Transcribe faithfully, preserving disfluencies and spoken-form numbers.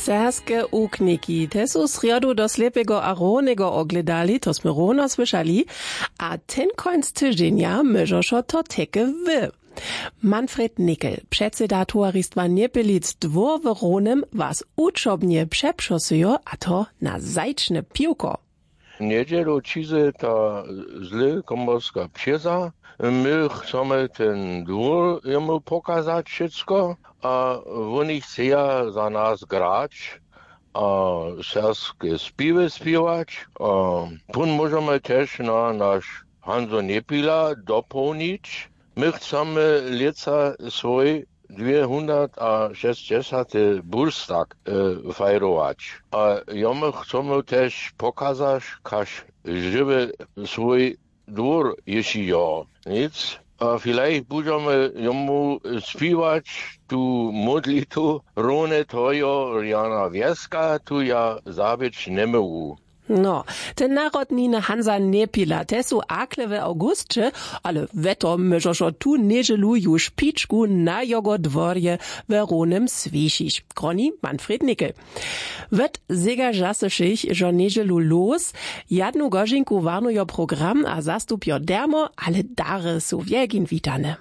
Serbske ukniki te su srjodu do slepeho a rownjeho ogledali, to smy rowno słyšali. A ten końc tyźenja móžošo to teke wy. Manfred Nickel, předseda towaristwa njepilic dwór w rownem, was wučobnje přepřosyjo, a to na zajčne piwko. Njedźelu ćizy ta zle komorska přěza, my chcemy ten dwór jemu pokazać wšitsko, a wóni chceja za nas grać a serbske spěwy spěwać. A pón móžemy tež na naš hanzo njepila dopołnić. My chcemy lětsa swój dwěhundratašěsćdźesate burstag fajrować, a jomu chcemy tež pokazać, kaž žiwy swój dwór ješi jo nic. A filajch budźemy jomu spiwać tu módlitu rowne tojo rjana wjeska tu ja zabyć njemóhł. No, te narodniny hanza njepila te su akle w awgusće, ale wetto móžošo tu njedźelu juž pičku na jogo dworje w rownem swěšić. Kroni manfred nickel. Wot zegažasyšich žo njedźelu los. Jadnu gožinku warnujo program a zastupjo dermo, ale dary su wjelkin witane.